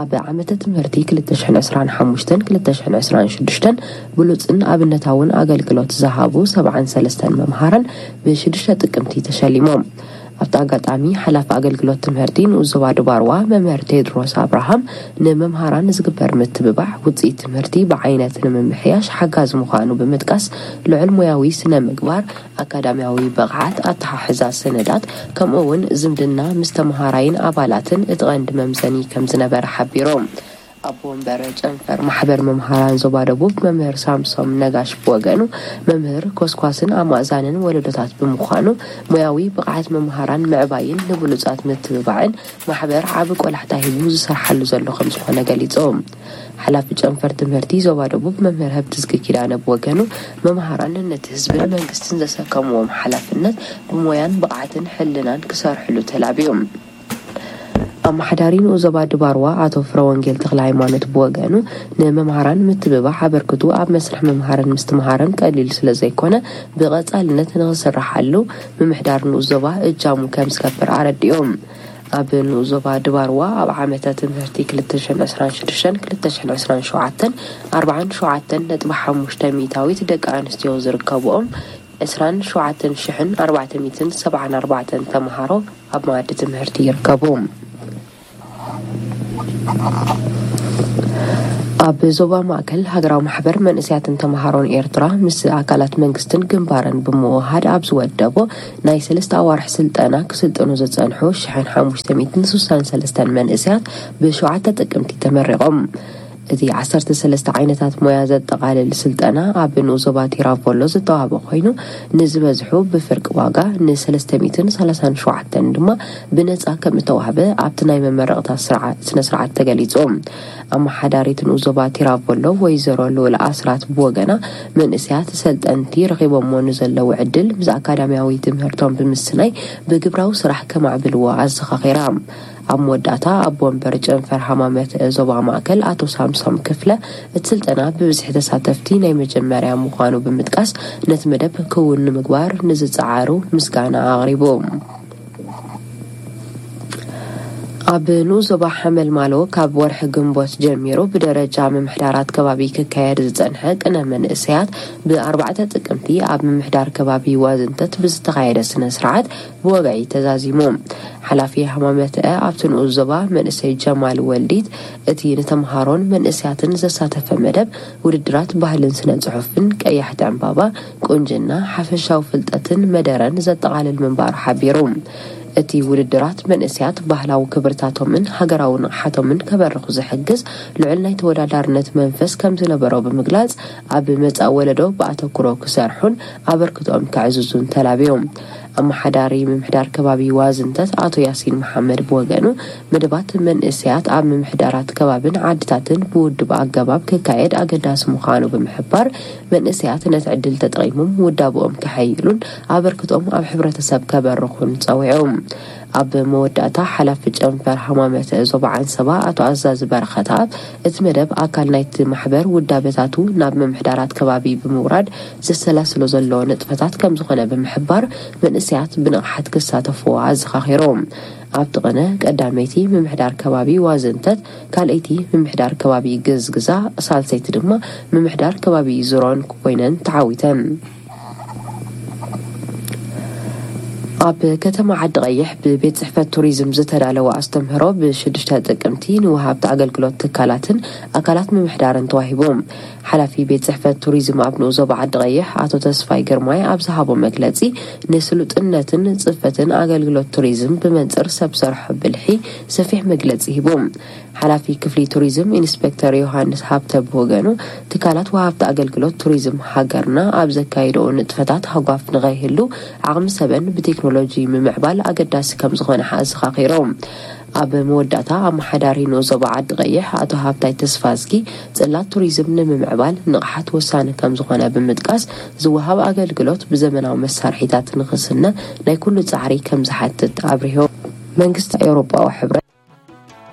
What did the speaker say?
ኣብ ዓመተ ትምህርቲ ክልተ ሽሕን ዕስራን ሓሙሽተን ክልተ ሽሕን ዕስራን ሽዱሽተን ብሉጽን ኣብነታውን ኣገልግሎት ዝሃቡ ሰብዓን ሰለስተን መምሃራን ብሽዱሽተ ጥቅምቲ ተሸሊሞም። ኣብቲ ኣጋጣሚ ሓላፊ ኣገልግሎት ትምህርቲ ንኡስ ዞባ ድባርዋ መምህር ቴድሮስ ኣብርሃም፣ ንመምሃራን ዝግበር ምትብባዕ ውፅኢት ትምህርቲ ብዓይነት ንምምሕያሽ ሓጋዚ ምዃኑ ብምጥቃስ፣ ልዑል ሞያዊ ስነ ምግባር፣ ኣካዳሚያዊ ብቕዓት፣ ኣተሓሕዛ ሰነዳት፣ ከምኡ እውን ዝምድና ምስ ተምሃራይን ኣባላትን እቲ ቀንዲ መምዘኒ ከም ዝነበረ ሓቢሮም። ኣቦ ወንበር ጨንፈር ማሕበር መምሃራን ዞባ ደቡብ መምህር ሳምሶም ነጋሽ ብወገኑ፣ መምህር ኮስኳስን ኣማእዛንን ወለዶታት ብምዃኑ፣ ሞያዊ ብቕዓት መምሃራን ምዕባይን ንብሉጻት ምትብባዕን ማሕበር ዓቢ ቆላሕታ ሂቡ ዝሰርሓሉ ዘሎ ከም ዝኾነ ገሊጹ። ሓላፊ ጨንፈር ትምህርቲ ዞባ ደቡብ መምህር ሀብትዝጊ ኪዳነ ብወገኑ፣ መምሃራን ነቲ ህዝብን መንግስትን ዘሰከምዎም ሓላፍነት ብሞያን ብቕዓትን ሕልናን ክሰርሕሉ ተላብዩ። ኣመሓዳሪ ንኡስ ዞባ ድባርዋ ኣቶ ፍረወንጌል ተክለ ሃይማኖት ብወገኑ፣ ንመምሃራን ምትብባዕ ኣበርክቱ ኣብ መስርሕ ምምሃርን ምስትምሃርን ቀሊል ስለ ዘይኮነ፣ ብቐጻልነት ንኽስርሓሉ ምምሕዳር ንኡስ ዞባ እጃሙ ከም ዝገብር ኣረዲኦም። ኣብ ንኡስ ዞባ ድባርዋ ኣብ ዓመተ ትምህርቲ ክልተ ሽሕን ዕስራን ሽዱሽተን ክልተ ሽሕን ዕስራን ሸውዓተን ኣርባዓን ሸውዓተን ነጥቢ ሓሙሽተ ሚእታዊት ደቂ ኣንስትዮ ዝርከብኦም ዕስራን ሸውዓተን ሽሕን ኣርባዕተ ሚእትን ሰብዓን ኣርባዕተን ተምሃሮ ኣብ መኣዲ ትምህርቲ ይርከቡ። ኣብ ዞባ ማእከል ሃገራዊ ማሕበር መንእሰያትን ተምሃሮን ኤርትራ ምስ ኣካላት መንግስትን ግንባርን ብምውሃድ ኣብ ዝወደቦ ናይ ሰለስተ ኣዋርሕ ስልጠና ክስልጥኑ ዝጸንሑ ሽሕን ሓሙሽተ ሚእትን ስሳን ሰለስተን መንእሰያት ብሸውዓተ ጥቅምቲ ተመሪቖም። እቲ ዓሰርተ ሰለስተ ዓይነታት ሞያ ዘጠቓልል ስልጠና ኣብ ንኡስ ዞባ ቲራቮሎ ዝተዋህበ ኮይኑ፣ ንዝበዝሑ ብፍርቂ ዋጋ፣ ንሰለስተ ሚእትን ሰላሳን ሸውዓተን ድማ ብነጻ ከም እተዋህበ ኣብቲ ናይ መመረቕታ ስርዓ-፣ ስነ ስርዓት ተገሊጹ። ኣመሓዳሪት ንኡስ ዞባ ቲራቮሎ ወይዘሮ ልኡል ኣስራት ብወገና፣ መንእሰያት ሰልጠንቲ ረኺቦሞ ንዘለዉ ዕድል ምስ ኣካዳሚያዊ ትምህርቶም ብምስናይ ብግብራዊ ስራሕ ከማዕብልዎ ኣዘኻኺራ። ኣብ መወዳእታ ኣብ ወንበር ጨንፈር ሃማመት ዞባ ማእከል ኣቶ ሳምሶም ክፍለ፣ እቲ ስልጠና ብብዝሒ ተሳተፍቲ ናይ መጀመርያ ምዃኑ ብምጥቃስ፣ ነቲ መደብ ክውን ንምግባር ንዝጸዓሩ ምስጋና ኣቕሪቡ። ኣብ ንኡስ ዞባ ሓመልማሎ ካብ ወርሒ ግንቦት ጀሚሩ ብደረጃ ምምሕዳራት ከባቢ ክካየድ ዝጸንሐ ቅነ መንእሰያት ብኣርባዕተ ጥቅምቲ ኣብ ምምሕዳር ከባቢ ዋዝንተት ብዝተኻየደ ስነ ስርዓት ብወግዒ ተዛዚሙ። ሓላፊ ሃማመተአ ኣብቲ ንኡስ ዞባ መንእሰይ ጀማል ወልዲት፣ እቲ ንተምሃሮን መንእሰያትን ዘሳተፈ መደብ ውድድራት ባህልን ስነ ጽሑፍን ቀያሕቲ ዕምባባ ቁንጅና፣ ሓፈሻዊ ፍልጠትን መደረን ዘጠቓልል ምንባሩ ሓቢሩ። እቲ ውድድራት መንእሰያት ባህላዊ ክብርታቶምን ሃገራዊ ንቕሓቶምን ከበርኹ ዝሕግዝ ልዑል ናይ ተወዳዳርነት መንፈስ ከም ዝነበሮ ብምግላጽ፣ ኣብ መጻኢ ወለዶ ብኣተኩሮ ክሰርሑን ኣበርክቶኦም ከዕዝዙን ተላብዮም። ኣመሓዳሪ ምምሕዳር ከባቢ ዋዝንተት ኣቶ ያሲን መሓመድ ብወገኑ፣ መደባት መንእሰያት ኣብ ምምሕዳራት ከባብን ዓድታትን ብውድብ ኣገባብ ክካየድ ኣገዳሲ ምዃኑ ብምሕባር፣ መንእሰያት ነቲ ዕድል ተጠቒሞም ውዳብኦም ከሐይሉን ኣበርክቶኦም ኣብ ሕብረተሰብ ከበርኹን ጸዊዑ። ኣብ መወዳእታ፣ ሓላፊ ጨንፈር ሃማመተ ዞባ ዓንሰባ ኣቶ ኣዛዚ በረኸትኣብ፣ እቲ መደብ ኣካል ናይቲ ማሕበር ውዳበታቱ ናብ ምምሕዳራት ከባቢ ብምውራድ ዘሰላስሎ ዘሎ ንጥፈታት ከም ዝኾነ ብምሕባር፣ መንእሰያት ብንቕሓት ክሳተፍዎ ኣዘኻኺሩ። ኣብቲ ቅነ፣ ቀዳመይቲ ምምሕዳር ከባቢ ዋዝንተት፣ ካልኣይቲ ምምሕዳር ከባቢ ግዝግዛ፣ ሳልሰይቲ ድማ ምምሕዳር ከባቢ ዝሮን ኮይነን ተዓዊተን። ኣብ ከተማ ዓዲ ቀይሕ ብቤት ጽሕፈት ቱሪዝም ዝተዳለወ ኣስተምህሮ ብሽዱሽተ ጥቅምቲ ንወሃብቲ ኣገልግሎት ትካላትን ኣካላት ምምሕዳርን ተዋሂቡ። ሓላፊ ቤት ጽሕፈት ቱሪዝም ኣብ ንኡስ ዞባ ዓዲ ቀይሕ ኣቶ ተስፋይ ግርማይ ኣብ ዝሃቦ መግለጺ፣ ንስሉጥነትን ጽፈትን ኣገልግሎት ቱሪዝም ብመንጽር ሰብ ሰርሖ ብልሒ ሰፊሕ መግለጺ ሂቡ። ሓላፊ ክፍሊ ቱሪዝም ኢንስፔክተር ዮሃንስ ሃብተ ብወገኑ፣ ትካላት ወሃብቲ ኣገልግሎት ቱሪዝም ሃገርና ኣብ ዘካየድኦ ንጥፈታት ሃጓፍ ንኸይህሉ ዓቕሚ ሰበን ብቴክኖሎጂ ምምዕባል ኣገዳሲ ከም ዝኾነ ኣዘኻኺሮም። ኣብ መወዳእታ፣ ኣመሓዳሪ ንኡስ ዞባ ዓዲ ቀይሕ ኣቶ ሃብታይ ተስፋዝጊ፣ ጽላት ቱሪዝም ንምምዕባል ንቕሓት ወሳኒ ከም ዝኾነ ብምጥቃስ፣ ዝወሃብ ኣገልግሎት ብዘመናዊ መሳርሒታት ንኽስነ ናይ ኩሉ ጻዕሪ ከም ዝሓትት ኣብሪሆም። መንግስቲ ኤውሮጳዊ ሕብረት